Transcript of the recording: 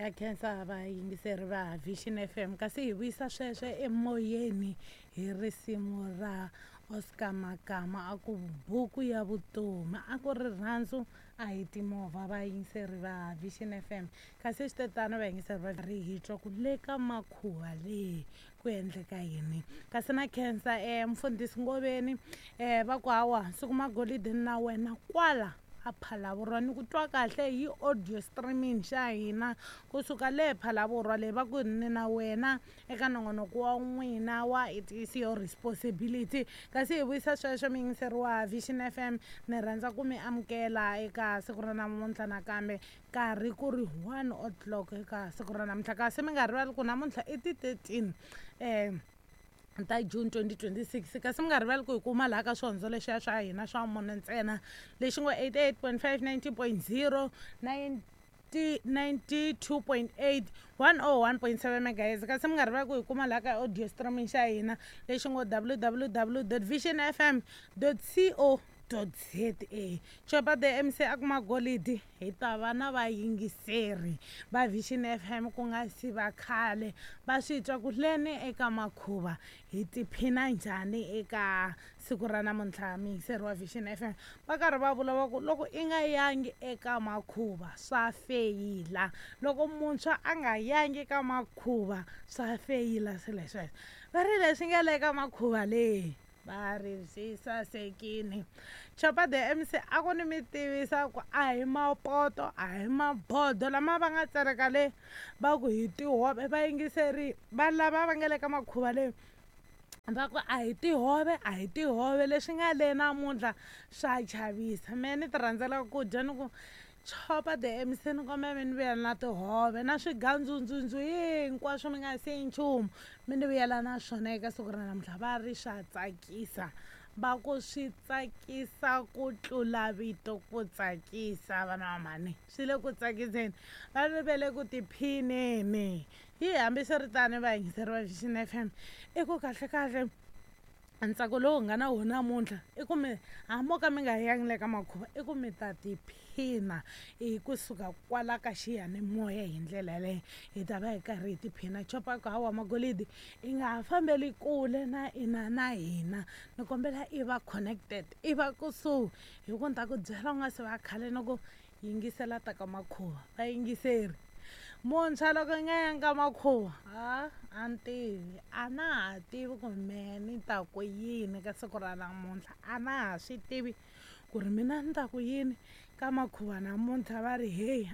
Ya khensa vayingiseri va Vision FM, kasi hi vuyisa sweswo emoyeni hi risimu ra Oscar Makama, a ku buku ya vutomi a ku rirhandzu a hi timovha. Vayingiseri va Vision FM, kasi switetano vayingiseri va ri hi twa ku le ka makhuva leyi ku endleka yini. Kasi na khensa mfundhisi Ngoveni, va ku hawa siku magolide na wena kwala a Phalavurwa ni ku twa kahle hi audio streaming xa hina kusuka le Phalavurwa leyi, va ku ni na wena eka nongonoko wa n'wina wa It Is Your Responsibility. Kasi hi vuyisa sweswo, muyingiseri wa Vision FM, ni rhandza ku mi amukela eka siku ra namuntlha nakambe, nkarhi ku ri 1 o'clock eka siku ra namuntlha. Kasi mi nga rivali ku namuntlha i ti 13 ta June 2026. Kasi mi nga rivali ku hi kuma laha ka swihondzo lexiya swa hina swa mune ntsena, lexi ngo 88.5, 90.0, 92.8, 101.7 megahertz. Kasi mi nga rivali ku hi kuma laha ka audio streaming xa hina lexi ngo www vision fm co za. Chopa the MC a kuma golidi, hi ta va na vayingiseri va Vision FM ku nga si va khale va swi twa ku leni eka makhuva hi tiphina njhani eka siku ra namuntlha. Muyingiseri wa Vision FM, va karhi va vula va ku loko i nga yangi eka makhuva swa feyila, loko muntshwa a nga yangi eka makhuva swa feyila. Swilo sweswo va ri leswi nga le ka makhuva leyi va ri swi sasekini. Chopa the MC a ku ni mi tivisa ku a hi mapoto, a hi mabodo lama va nga tsereka le, va ku hi tihove. Vayingiseri va lava va nga le ka makhuva leyi va ku a hi tihove, a hi tihove leswi nga le namuntlha swa chavisa. Mehe ni ti rhandzela ku dya, ni ku Chopa the MC ni kombela mi ni vuyela na tihove na swigandzundzundzu hinkwaswo, mi nga siyi nchumu, mi ni vuyela na swona eka siku ra namuntlha. Va ri swa tsakisa, va ku swi tsakisa ku tlula vito ku tsakisa. Vana va mhani, swi le ku tsakiseni, va ri ve le ku tiphineni. Hi hambiswiritano, vayingiseri va Vision FM, i ku kahle kahle ntsako lowu nga na wona namuntlha i ku mi hambi mo ka mi nga yangi le ka makhuva, i ku mi ta tiphina hi kusuka kwala ka xiyanimoya. Hi ndlela yaleyo hi ta va hi karhi hi tiphina. Chopa ku hawa magolidi, i nga ha fambeli kule na ina na hina, ni kombela i va connected, i va kusuhi, hi ku ni ta ku byela u nga se va khale ni ku yingisela ta ka makhuva. Vayingiseri, muntshwa loko i nga yangi ka makhuva, a a ni tivi, a na ha tivi ku mehe ni ta ku yini ka siku ra namuntlha, a na ha swi tivi ku ri mina ni ta ku yini ka makhuva namuntlha. Va ri heyi.